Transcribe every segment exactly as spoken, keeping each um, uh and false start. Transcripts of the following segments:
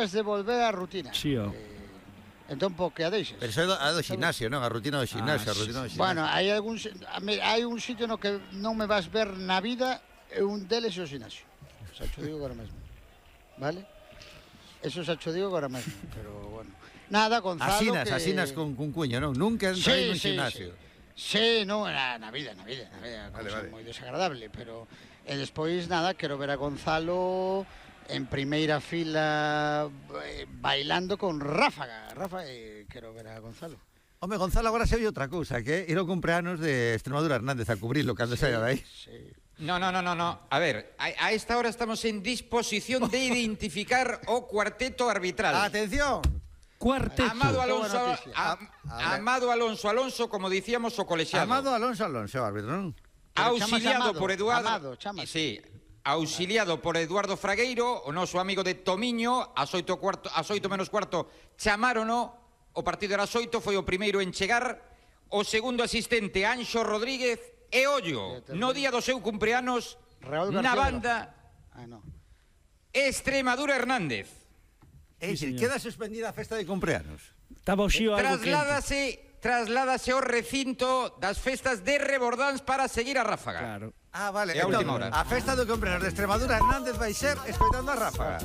es de volver á rutina. Sí, ó. Eh, entón, po que a deixes. Pero iso é do, a do ximnasio, non? A rutina do ximnasio, Ah, a rutina do ximnasio. Bueno, hai algún hai un sitio no que non me vas ver na vida, e un deles é o ximnasio. Xa cho digo agora mesmo. Vale? Eso xa cho digo agora mesmo, pero bueno. Nada, Gonzalo, asinas, que... asinas con, con cuño, non? Nunca entrei Sí, nun sí, ximnasio. Sí, non, na, na vida, na vida, na vida, Vale, cousa vale. moi desagradable, pero e despois nada, quero ver a Gonzalo en primeira fila eh, bailando con Ráfaga. Rafa, eh, quero ver a Gonzalo. Home, Gonzalo, agora se oye outra cousa, que é ir ao cumpleanos de Extremadura Hernández a cubrilo cando Sí, saia de aí. sí. No, no, no, no, no. A ver, a, a esta hora estamos en disposición de identificar o cuarteto arbitral. Atención. Cuarteto. Amado Alonso, Boa noticia. a- A- a ver. Amado Alonso Alonso, como dicíamos, o colexiado. Amado Alonso Alonso, árbitro, non? Pero Auxiliado chamase Amado, por Eduardo. Amado, chamase. Sí. Auxiliado por Eduardo Fragueiro, o noso amigo de Tomiño, ás oito cuarto, ás oito menos cuarto chamárono, o partido era ás oito, foi o primeiro en chegar, o segundo asistente Anxo Rodríguez e ollo, no día do seu cumpleanos, Raúl na García banda Ah, no. Extremadura Hernández. É dicir, señor. queda suspendida a festa de cumpleanos. Estaba o xío algo quente. Trasládase, trasládase ao recinto das festas de Rebordáns para seguir a Ráfaga. Claro. Ah, vale. É a Entón, última hora. a festa do cumpleanos de Extremadura Hernández vai ser escoitando a Ráfaga.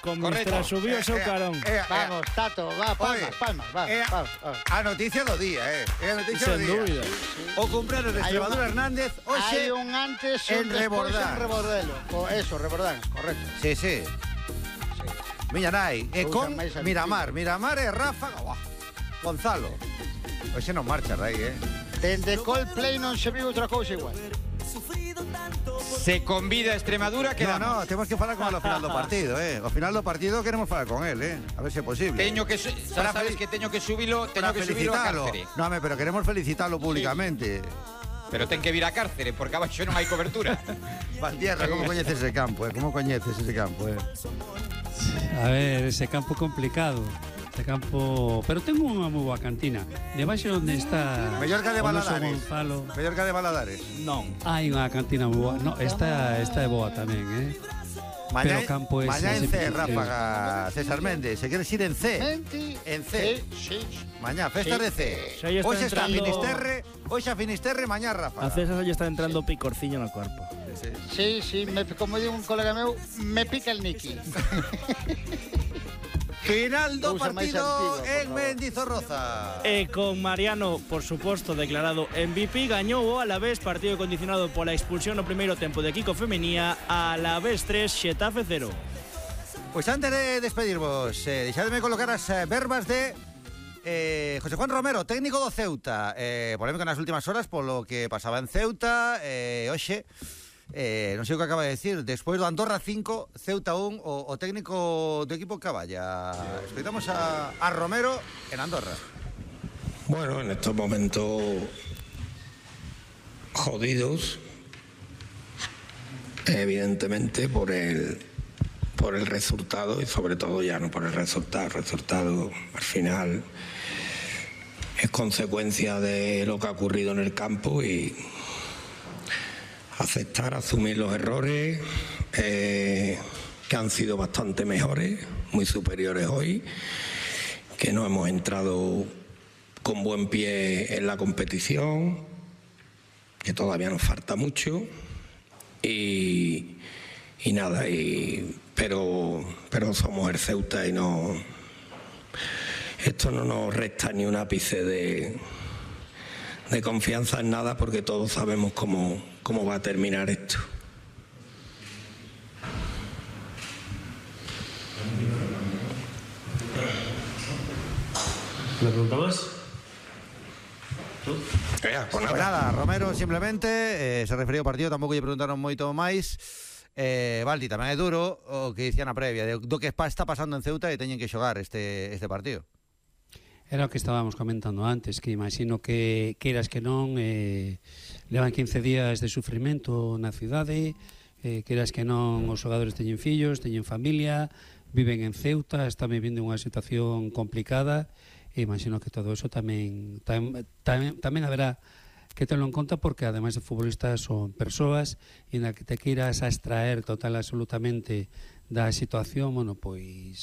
Con Correcto. Mistra subiu o seu Eh, eh, carón. eh, eh, Vamos, Tato, va, Oye, palmas, palmas, va, eh, va, va. A noticia do día, eh. É a noticia Sen do día. dúbida. O cumpleanos de Hai Extremadura un- Hernández hoxe Hai un antes e en un despois Rebordán. en Rebordelo. O eso, Rebordán, correcto. Sí, sí. Miña nai, e Cousa con máis antiga. Miramar, Miramar e Ráfaga. Buah. Gonzalo. Hoxe non marcha, Rei, eh. Dende Coldplay non se viu outra cousa igual. Se convida a Extremadura, No, quedamos. no, temos que falar con él ao final do partido, eh. Ao final do partido queremos falar con él, eh. A ver se é posible. Teño que su- Para xa sabes fel- que teño que subilo, teño Para que subilo a felicitalo. cárcere. No, home, pero queremos felicitarlo públicamente. Pero ten que vir a cárcere porque abaixo non hai cobertura. Valtierra, como coñeces ese campo, eh? Como coñeces ese campo, eh? A ver, ese campo complicado. Ese campo... Pero tengo unha moi boa cantina. Debaixo onde está... Mellor que a de o noso Baladares. Gonzalo. Mellor que a de Baladares. Non. Hai unha cantina moi boa. No, esta, esta é boa tamén, eh? Mañá, Pero o campo ese mañá en é C, sempre- Ráfaga, César Méndez. Se queres ir en C. Menti, En C. Sí, sí. Mañá, festa Sí. de C. Xa lle está Hoxe está entrando- Finisterre, hoxe a Finisterre, mañá Ráfaga. A César ya está entrando picorciño no corpo. Sí, sí. Sí, sí, me, como digo un colega meu, me pica el Niki. Final do Cousa máis partido antiga, por en favor. Mendizorroza. E con Mariano, por suposto, declarado M V P, gañou o Alavés, partido condicionado pola expulsión no primeiro tempo de Kiko Femenía, Alavés tres, Xetafe cero. Pois antes de despedirvos, eh, deixademe colocar as eh, verbas de eh, José Juan Romero, técnico do Ceuta. Eh, polémica nas últimas horas polo que pasaba en Ceuta. Eh, hoxe, eh, non sei o que acaba de decir, despois do Andorra cinco, Ceuta un, o, o técnico do equipo Caballa. Escoitamos a, a Romero en Andorra. Bueno, en estos momentos jodidos, evidentemente por el por el resultado y sobre todo ya no por el resultado. El resultado al final es consecuencia de lo que ha ocurrido en el campo y aceptar, asumir los errores eh, que han sido bastante mejores, muy superiores hoy, que no hemos entrado con buen pie en la competición, que todavía nos falta mucho y, y nada, y, pero, pero somos el Ceuta y no, esto no nos resta ni un ápice de, de confianza en nada porque todos sabemos cómo, cómo va a terminar esto. ¿Una pregunta más? Ya, pues Pues nada, Romero simplemente eh, se referiu ao partido, tampouco lle preguntaron moito máis. Eh, Valdi, tamén é duro o que dicía na previa de, do que está pasando en Ceuta e teñen que xogar este, este partido. Era o que estábamos comentando antes, que imagino que queiras que non eh, levan quince días de sufrimento na cidade, eh, queiras que non os xogadores teñen fillos, teñen familia, viven en Ceuta, están vivindo unha situación complicada e imagino que todo eso tamén tam, tam, tamén haberá que tenlo en conta porque ademais de futbolistas son persoas e na que te queiras a extraer total absolutamente da situación, bueno, pois